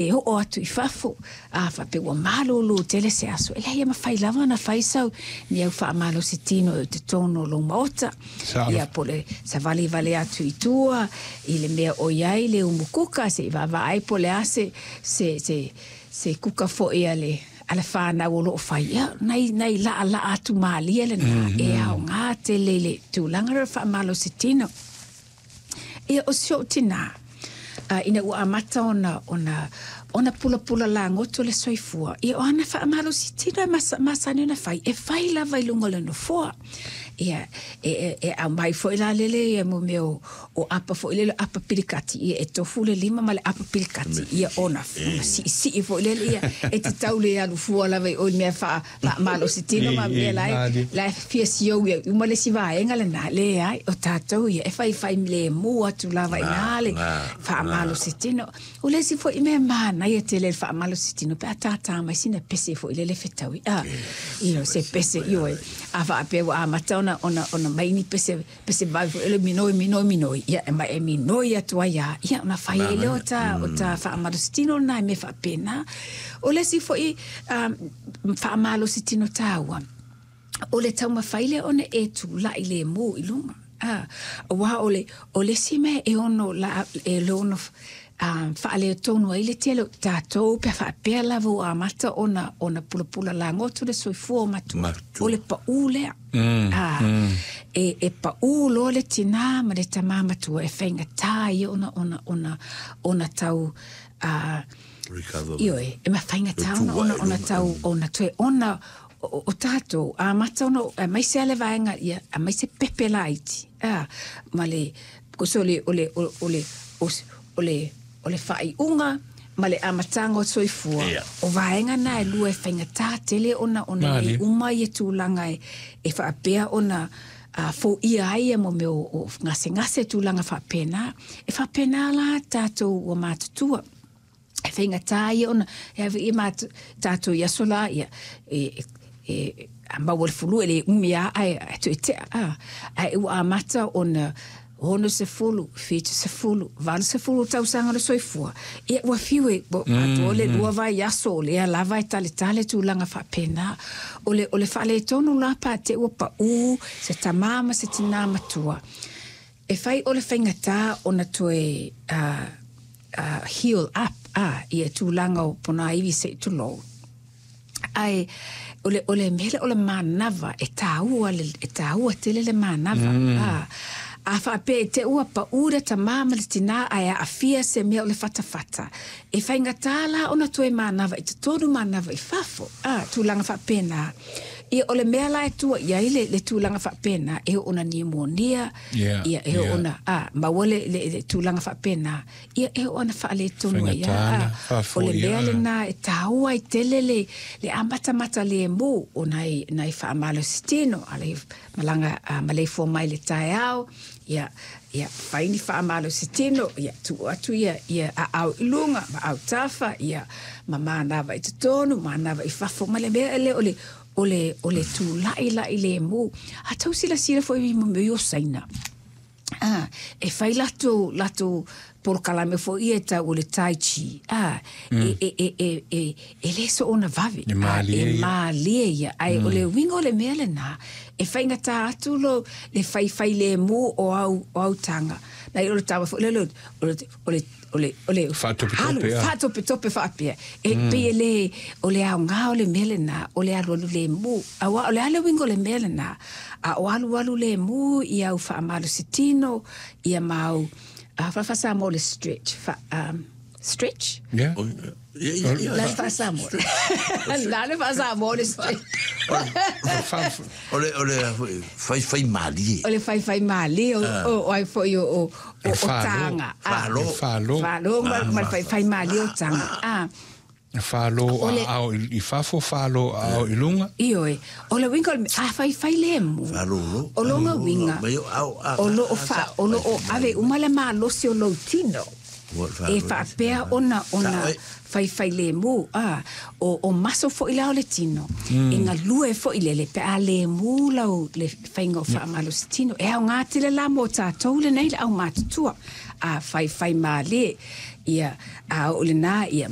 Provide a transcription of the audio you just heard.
E oo atu i fafo, a faapea ua malōlō tele se aso, e leai e mafai lava ona fai sau ni au faamalosi tino i totonu o lou maota. Ia, po o le savali wale atu i tua, i le mea o i ai le umu kuka, se i vaavaai po o le a se, se, se, se kuka foi a le, a le whānau o loo fai. Ia, nai, nai laa atu malie lena, e aoga tele i le tulaga lea o le faamalosi tino. Ia, o si ou tinā, ina ua amata ona, ona, ona pulapula lagoto le soifua, ia o ana faamalosi tino e masani ona fai, e fai lava i luga o le nofoa. Ia, e, e, e aumai foi la lele ia mo mea o, o apa foi lele, apa pilikati, ia e tofu le lima ma le apa pilikati, ia ona, ona siisii foi lele, ia, e te tau le alu fua lava i o i mea faa, faamalosi tino ma mea la e fia siou ia uma le isi vaega lena, leai, o tatou ia e faifai lemu atu lava i ina le faamalosi tino. O le isi foi mea manaia tele le faamalosi tino pe a tātā mai sina pese foi lele fetaui, se pese, ioe, a faapea ua amata ona, ona, ona mai ni pese pese vave foi le minoi, minoi, minoi, ia, e ma e minoi atu ai lava, ia, ona fai ai lea o ta, o ta faamalositino lena i mea faapena. O le isi foi faamalositino taua, o le taumafai lea ona e tula'i lemu i luga, aua o le, o le isi mea e ono la, e ono faaletonu ai le tele o tatou pe a faapea lava ua amata ona, ona pulapula lagoto le soifua o matua, o le paʻū lea. E, e paʻū loa le tinā ma le tamā matua e faigata ia ona, ona, ona, ona tau, Recover. Ioe, e ma faigata ona, ona, ona tau, ona toe ona, o, o tatou, amata ona, aemaise lava le vaega, ia, aemaise pepe laiti, ma le, because o le, o le, o le, o le, o le faaiuga ma le amataga o soifua, o vaega na e lua e faigata tele ona ona lelei uma ia tulaga e, e faapea ona foia ai ia mo mea o, o gasegase tulaga faapena. E faapena la tatou ua matutua. E faigata ia ona, e ave ia tatou i aso la, ia, e, e, a maua le fulu e le umi lava ae, ae toe tea, ae ua amata ona 60, 70, 80 tausaga o le soifua, ia ua fiu e, ua atoa le lua vaiaso o lea lava e taletale tulaga faapena. O le, o le faaletonu la pe a te i ua paʻū se tamā ma se tinā matua, e fai o le faigata ona toe heal up ia tulaga o ponaivi se i tulou. Ae o le, o le mea lea o le manava, e taua le, e taua tele le manava. A faapea i te i ua paʻū le tamā ma le tinā ae aafia se mea o le fatafata, e faigata la ona toe manava i totonu manava i fafo, tulaga faapena. Ia, o le mea la e tua i ai le, le tulaga faapena, e oo ona niumonia, ia, e oo ona, maua le, le, le tulaga faapena, ia e oo ana faaletonu ai lava. O le mea lena e taua ai tele le, le amatamata lemu o nai, nai faamalositino, a le malaga maleifua mai i le taeao, ia, ia fai ni faamalositino, ia tuu atu ia, ia aao i luga ma autafa, ia ma manava i totonu, manava i fafo, ma le mea lea o le, o le, o le tula'ila'i lemu. A tou silasila foi i mea o Saina, e fai latou, latou polokalame foi ia e tau o le Tai Chi, e, e, e, e, e, e le soona vave, E mālie e ia. mālie ia. Ae o le uiga o le mea lena, e faigata atu lo le faifai lemu o au, o au taga. Nai o le tama foi lele o le, o le, o le, o le Faatopetope, alu, faatopetope faapea. E pei e le, o le aoga o le mea lena, o le alualu lemu. Aua o le a le uiga o le mea lena, a o alualu lemu i au faamalositino, ia ma au, faa-Samoa o le stretch, fa, stretch? Yeah. La le faa-Samoa. La le faa-Samoa o le stretch. O le, o le faifai malie. O le faifai malie o, o, o ai foi o, o, o, o taga. Falo. Falo. Falo ma, ma le faifai malie o taga. Falo aao i fafo, falo aao i luga. Ioe, o le uiga o le, a faifai lemu, o lona uiga, o lo o fa, o lo o ave uma le malosi o lou tino, e faapea ona, ona faifai lemu, o, o maso foi la o le tino, e galue foi lele pe a lemu lau le faiga o faamalosi tino. E aoga tele la mo tatou lenei le aumatutua, a faifai malie. Ia a oo i lenā ia.